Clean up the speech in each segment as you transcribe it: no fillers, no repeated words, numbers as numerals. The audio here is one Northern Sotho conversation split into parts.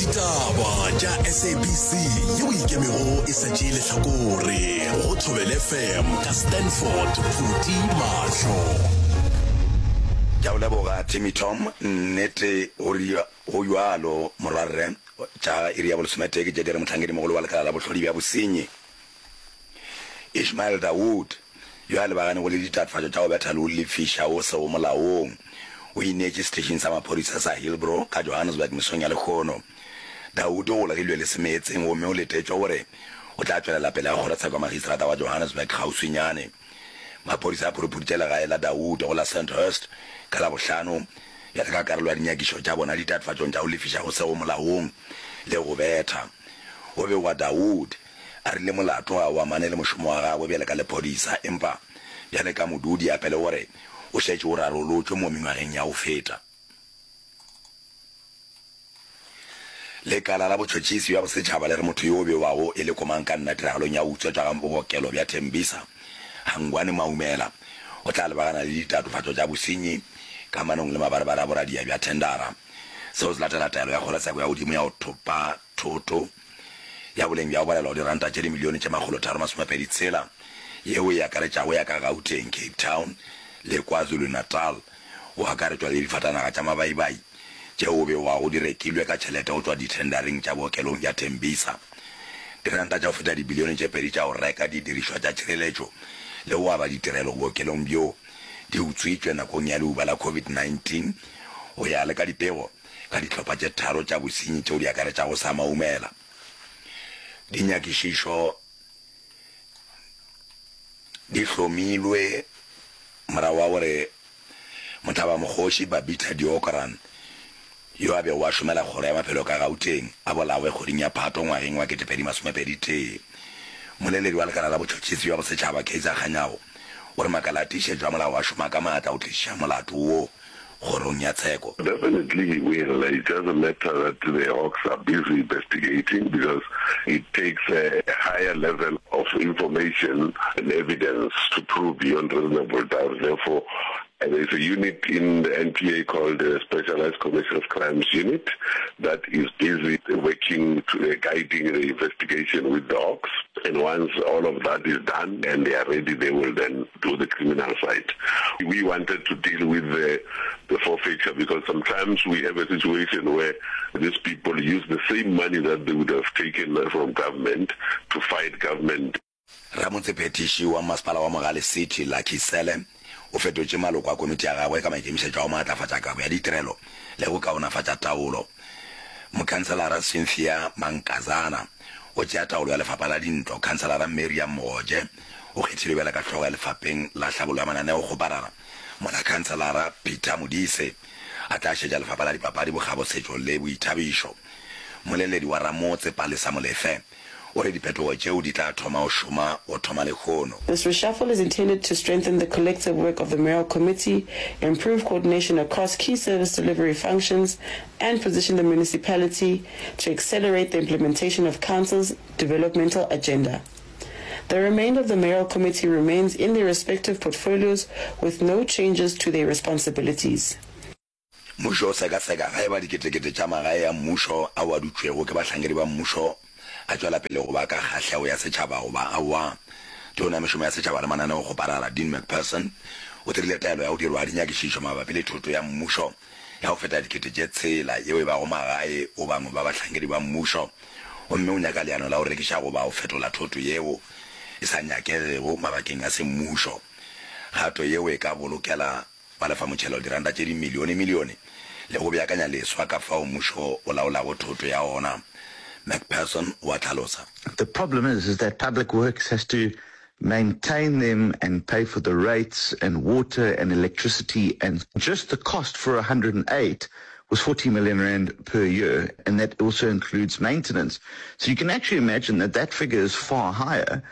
Ditaba tša SABC yeo e ikemego e sa tšee lehlakore go Thobela FM ka Stanford Phuti Mahlo. Ke a go leboga Timmy Tom, nnete go go bjalo morwarre. Tša iri ya bolesometee ke tše di re mohlankedi-mogolo wa lekala la bohlodi bja bosenyi Ishmael Dawood, yo a lebaganego le ditatofatšo tša go betha le go lefiša wo sego molaong, o ineetše seteišing sa maphodisa sa Hillbrow ka Johannesburg mesong ya lehono. Dawood o golegilwe le semeetseng gomme o letetšwe gore o tla tšwelela pele ga kgorotsheko ya magistrata wa Johannesburg kgauswinyane. Maphodisa a phuruphuditše legae la Dawood go la Sandhurst ka Labohlano bjale ka karolo ya dinyakišo tša bona ditatofatšong tša go lefiša go sego molaong le go betha. Go begwa Dawood A rile molato ga o amane le mošomo wa gagwe bjale ka lephodisa, empa bjale ka modudi hape le gore o šetše o rarolotšwe mo mengwageng ya go feta. Lekala la botšhotšhisi bja bosetšhaba le re motho yo o bewago e le komangkanna tiragalong ya go utswetšwa ga bookelo bja Tembisa, Hangwani Maumela, o tla lebagana le ditatofatšo tša bosenyi kamanong le mabarebare a boradia bja thendara. Seo se latela taelo ya kgorotsheko ya godimo ya go thopa thoto ya boleng bja go balelwa go diranta tše dimilione tše 326 yeo e akaretšago ya ka Gauteng, Cape Town le KwaZulu-Natal, go akaretšwa le difatanaga tša mabaibai tšeo go begwago di rekilwe ka tšhelete go tšwa dithendareng tša bookelong bja Tembisa. Diranta tša go feta dibilione tše pedi tša go reka didirišwa tša tšhireletšo le go aba ditirelo bookelong bjo di utswitšwe nakong ya leuba la COVID-19 go ya le ka dipego ka dihlopha tše tharo tša bosenyi tšeo di akaretšago sa Maumela. Dinyakišišo di hlomilwe morago ga gore mohlabamokgoši Babita Deokaran, yo a bego a šomela Kgoro ya Maphelo ka Gauteng, a bolawe kgweding ya Phato ngwageng wa 2021. Mmoleledi wa Lekala la Botšhotšhisi bja Bosetšhaba, Kaizer Kganyago, o re makala a tiišetšo a molao a šoma ka maatla go tliša molato wo kgorong ya tsheko. Definitely he will, it doesn't matter that the Hawks are busy investigating because it takes a higher level of information and evidence to prove beyond reasonable doubt, therefore there is a unit in the N_P_A called the Specialised Commercial Crimes Unit that is busy working to guiding the investigation with the Hawks and once all of that is done and they are ready they will then do the criminal side. We wanted to deal with the, the forfeiture because sometimes we have a situation where these people use the same money that they would have taken from government to fight government. Ramotsephethiši wa Masepala wa Mogale City, Lucky Sele, o fetotše maloko a komiti ya gagwe ka maikemišetšo a go maatlafatša kabo ya ditirelo le go kaonafatša taolo. Mokhanselara Cynthia Mankazana o tšea taolo ya lefapha la dintlo, Khanselara Miriam Mogoje o kgethilwe bjalo ka hlogo ya lefapeng la hlabollo ya mananeokgoparara, mola Khanselara Peter Modise a tla šetša lefapha la dipapadi, bokgabo, setšo le boithabišo. Mmoleledi wa Ramotse, Palesa Molefe, o re diphetogo tšeo di tla thoma go šoma go thoma lehono. This reshuffle is intended to strengthen the collective work of the mayoral committee, improve coordination across key service delivery functions, and position the municipality to accelerate the implementation of council's developmental agenda. The remainder of the mayoral committee remains in their respective portfolios with no changes to their responsibilities. Mmušo o sekaseka ge eba diketekete tša magae a mmušo ao a dutšwego ke bahlankedi ba mmušo a tšwela pele go ba ka kgahlego ya setšhaba goba aowa. Tona ya Mešomo ya Setšhaba le Mananeokgoparara, Dean Macpherson, o dirile taelo ya go dirwa ga dinyakišišo mabapi le thoto ya mmušo ya go feta dikete tše tshela yeo e bago magae go bangwe ba bahlankedi ba mmušo gomme o nyaka leano la go rekiša goba go fetola thoto yeo e sa nyakegego mabakeng a semmušo. Kgato yeo e ka bolokela balefamotšhelo diranta tše dimilionemilione le go beakanya leswa ka fao mmušo o laolago thoto ya ona, Macpherson o a hlalosa. The problem is, is that Public Works has to maintain them and pay for the rates and water and electricity and just the cost for 108 was 40 million rand per year and that also includes maintenance. So you can actually imagine that that figure is far higher.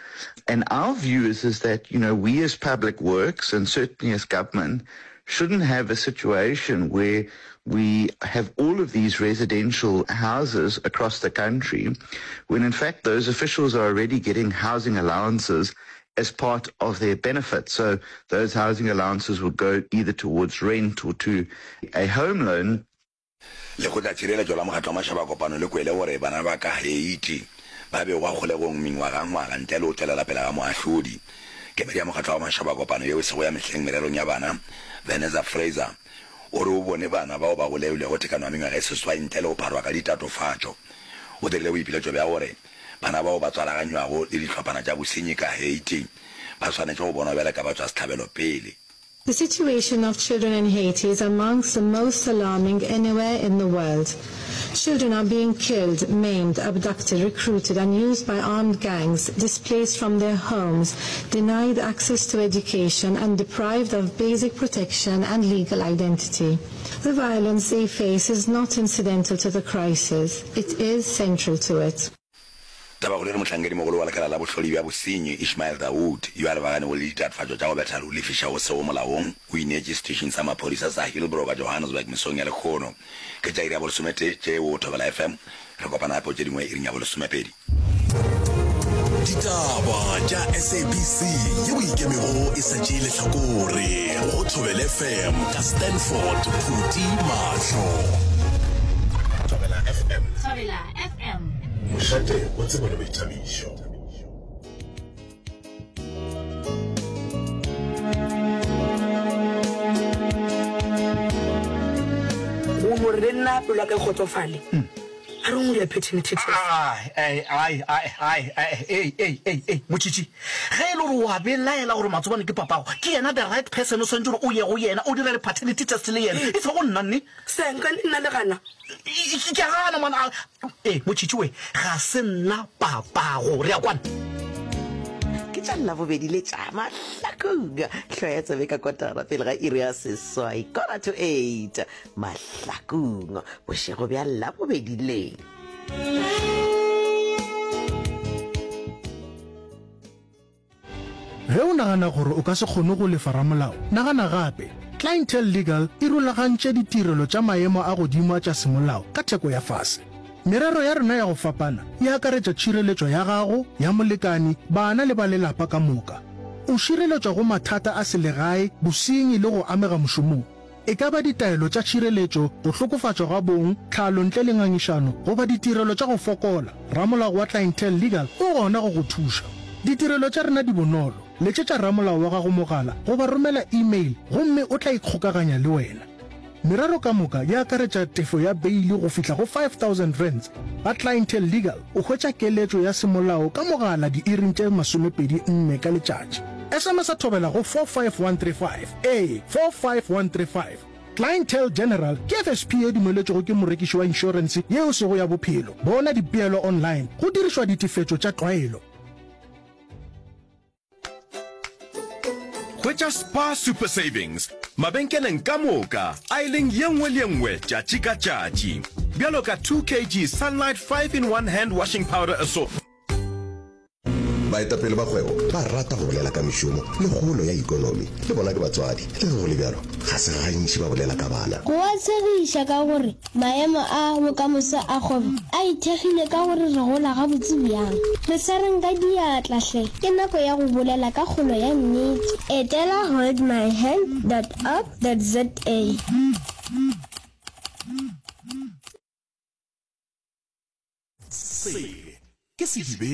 And our view is, is that, you know, we as public works and certainly as government shouldn't have a situation where we have all of these residential houses across the country when in fact those officials are already getting housing allowances as part of their benefit. So those housing allowances would go either towards rent or to a home loan. Lekgotlatšhireletšo la Mokgatlo wa Mašaba a Kopano le kwele gore bana ba ka Haiti ba begwa kgolegong mengwagangwaga ntle le go tšwelela pele ga moahlodi. Kemedi ya Mokgatlo wa Mašaba a Kopano yeo e sego ya mehleng mererong ya bana, Vanessa Fraser, o re o bone bana bao ba golegilwego tekano ya mengwaga e seswai ntle le go pharwa ka ditatofatšo. O dirile boipiletšo bja gore bana bao ba tswalaganywago le dihlophana tša bosenyi ka Haiti ba swanetše go bonwa bjale ka batšwasehlabelo pele. The situation of children in Haiti is amongst the most alarming anywhere in the world. Children are being killed, maimed, abducted, recruited and used by armed gangs, displaced from their homes, denied access to education and deprived of basic protection and legal identity. The violence they face is not incidental to the crisis, it is central to it. Tabakgolo e re Mohlankedimogolo wa Lekala la Bohlodi bja Bosenyi, Ishmael Dawood, yo a lebaganego le ditatofatšo tša go betha le go lefiša go sego molaong, o ineetše seteišeng sa maphodisa sa Hillbrow ka Johannesburg mesong ya lehono. Ke tša iri ya bolesometee tše go Thobela FM. Re kopana gape go tše dingwe iring ya bolesomepedi. Ditaba tša SABC yeo e ikemego e sa tšee lehlakore go Thobela FM ka Stanford Phuti Mahlo. Thobela FM. Thobela FM. Mošate wa tsebo le boithabišo. Go no re le nna pelo ya ka e kgotsofale. A re ngwe ya paternity test. Ai, ai, ai, ai, ai, ei, ei, ei, ei, Motšhitšhi, ge e le gore o a belaela gore Matsobane ke papago, ke yena the right person o swanetše gore o ye go yena o dire le paternity test le yena, e sego nna, nne. Senka, nna le gana. Ke a gana man. Ee, Motšhitšhi we, ga se nna papago. Re a kwana? Ke tša Labobedi le tša Mahlakong. Hloya tsebe ka kotara pele ga iri ya seswai, quarter to eight. Mahlakong, bošego bja Labobedi le. Ge o nagana gore o ka se kgone go lefa ramolao, nagana gape. Clientele Legal e rulagantše ditirelo tša maemo a godimo a tša semolao ka theko ya fase. Merero ya rena ya go fapana e akaretša tšhireletšo ya gago, ya molekani, bana le ba lelapa ka moka. O šireletšwa go mathata a selegae, bosenyi le go amega mošomong. E ka ba ditaelo tša tšhireletšo, go hlokofatšwa ga bong, tlhalo ntle le ngangišano, goba ditirelo tša go fokola, ramolao wa Clientele Legal o gona go go thuša. Ditirelo tša rena di bonolo, letšetša ramolao wa gago mogala goba romela e-mail gomme o tla ikgokaganya le wena. Merero ka moka e akaretša tefo ya beili go fihla go R5000. Ba Clientele Legal o hwetša keletšo ya semolao ka mogala diiring tše 24 ka letšatši. SMS-a thobela go 45135. Ee, 45135. Clientele General ke FSP ye dumeletšwego ke morekiši wa inšorense ye e sego ya bophelo. Bona dipeelo online go dirišwa ditefetšo tša tlwaelo. Hwetša Spar Super Savings mabenkeleng ka moka aeleng ye nngwe le ye nngwe tšatši ka tšatši. Bjalo ka 2 kg Sunlight 5 in 1 hand washing powder assortment. Baetapele ba kgwebo ba rata go bolela ka mešomo le kgolo ya ikonomi. Le bona ke batswadi, le ge go le bjalo, ga se gantši ba bolela ka bana. Go a tshegiša ka gore maemo a bokamoso a kgwebo a ithekgile ka gore re gola gabotse bjang. Re swareng ka diatla hle, ke nako ya go bolela ka kgolo ya nnete. Etela holdmyhand dot org dot za. Se ke sedibe.